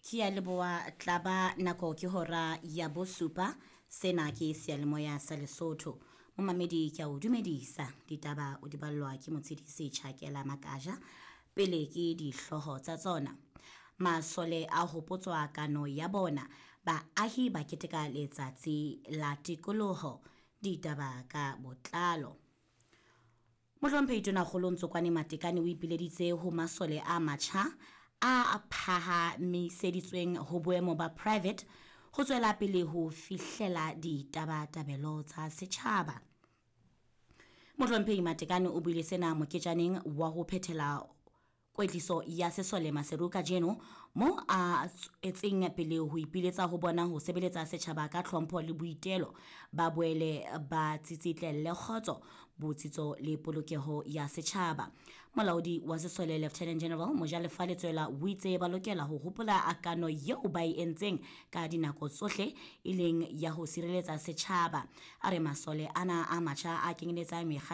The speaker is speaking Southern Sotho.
Ke a leboha tlaba nako ke hora ya bosupa. Sena ke seyalemoya sa Lesotho. Momamedi ke a o dumedisa. Ditaba o di ballwa ke Motshedisi Tjhakela Makaja. Pele ke dihlooho tsa tsona. Masole a hopotswa kano ya bona. Baahi ba keteka letsatsi la tikoloho. Ditaba ka botlalo. Mohlomphehi Tonakgolo Ntsokwane Matekane o ipileditse ho masole a matjha a phahamiseditsweng ho boemo ba private ho tswela pele ho fihlela ditabatabelo tsa setjhaba. Mohlomphehi Matekane o buile sena moketjaneng wa ho phethela kwetliso ya sesole Maseru kajeno moo a tswetseng pele ho ipiletsa ho bona ho sebeletsa setjhaba ka tlhompho le boitelo, ba boele ba tsitsitlelle kgotso, botsitso le polokeho ya setjhaba. Molaodi wa sesole Lieutenant General Mojalefa Letsoela o itse ba lokela ho hopola kano eo ba e entseng ka dinako tsohle e leng ya ho sireletsa setjhaba. A re masole ana a matjha a kenyeletsang mekga